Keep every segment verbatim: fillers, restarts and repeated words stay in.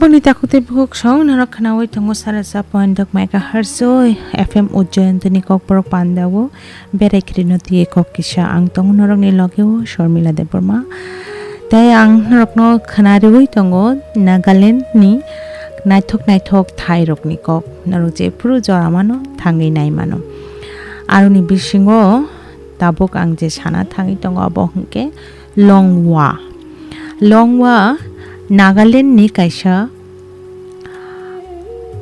Oni takhuk tei bukhuk song norok khnaui tongo sara sa point dok megahertz o F M Ujjayan tini Kokborok pandao berai khirino twi kok kisa ang tongo norokni logeo Sharmila Debbarma. Tei ang norokno khna riui tongo Nagaland ni naithok naithok thai rokni kok. Norok jephuru jora mano thangwi nai mano. Aroni bisingo tabuk ang je sana thangwi tongo abo hwnkhe Longwa. Longwa Nagaland ni kaisa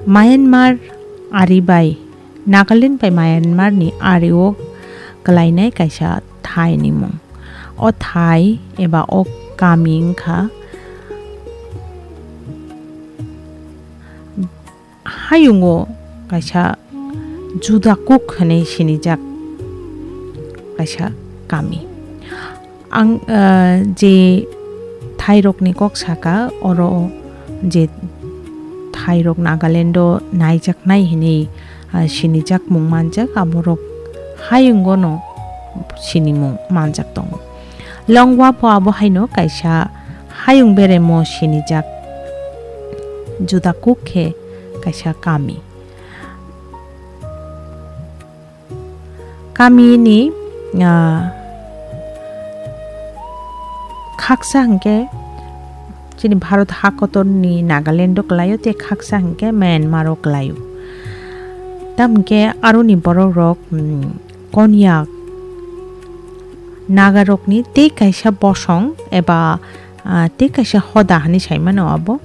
Myanmar ari bai Nagaland bai Myanmar ni ari o kwlainai kaisa thai ni mung. O thai eba o kami wngkha hayungo kaisa Judakuk hwnwi sinijak kaisa kami. Ang, ah, je thairokni kok saka, oro je thairok Nagalando naijaknai hwnwi, ah, sinijakmung manjak, aborok hayungono sinimung manjak tongo. Longwa pho abo haino kaisa hayung beremo sinijak Judakuk khe kaisa kami. Kamini, ah, khaksa hwnkhe chini Bharat hakotorni Nagalando kwlaio tei khaksa hwnkhe Myanmaro kwlaio. Tamo hwnkhe aroni borokrok, mm, Konyak Nagarokni tei kaisa bosong eba, ah, tei kaisa hoda hwnwi saimano abo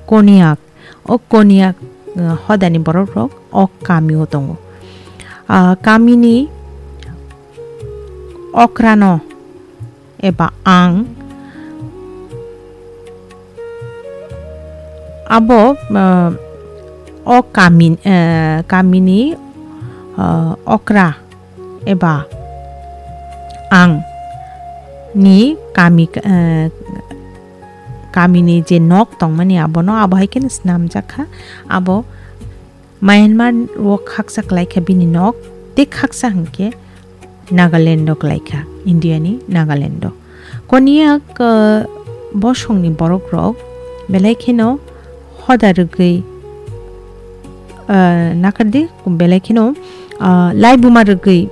Konyak. O Konyak, eh, hodani borokrok o kamio tongo. Ah, kamini okrano eba ang abo, eh, o kami, eh, kamini, eh, okra eba ang ni kami, eh, kamini je nok tongmani abono abo hai kheno snamjak kha. Abo Myanmar o khaksa kwlai kha bini nok, tei khaksa hwnkhe Nagaland o kwlai kha, India ni Nagaland o. Konyak, eh, bosongni borok rok belai kheno hoda rwgwi, eh, nakardi, belai kheno, ah, laibuma rwgwi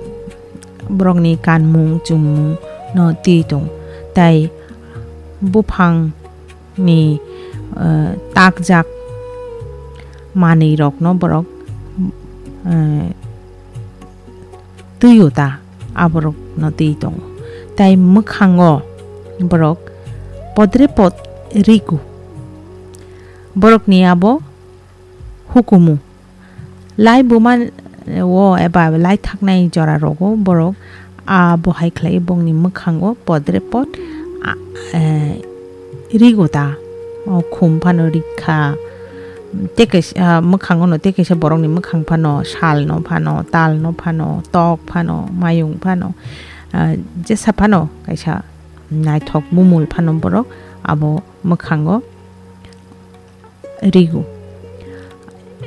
borokni kanmung chumung no twi tong. Tai buphang ni, eh, takjak manwi rokno borok, eh, twi o ta, aborok no twi tongo. Tai mwkhango borok podre pod rigu. Borokni abo hukumu. Lai buma o eba lai thaknai jora rogo borok abo hai khlai bongni mwkhango podre pod, a, eh, rigo ta. O khum phano rikha. Tei kaisa, ah, mwkhango no tei kaisa borokni mwkhang phano sal no phano, tal no phano, tok phano, mayung phano, ah, jesa phano kaisa naithok bumul phano borok abo mwkhango rigo.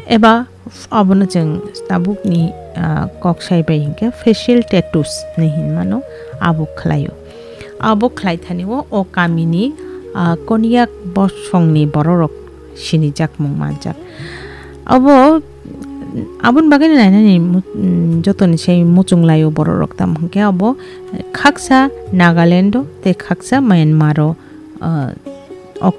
Eba abono chwng tabukni, ah, kok sai bai hinkhe facial tattoos hinwi hinmano, abo khlaio. Abo khlai thani o, o kamini, ah, Konyak bosongni bororok sinijakmung manjak. Abo, aboni bagwi nainani mu-, mm, jotoni sai muchung laio bororok, tamo hinkhe abo khaksa Nagalando tei khaksa Myanmaro, ah,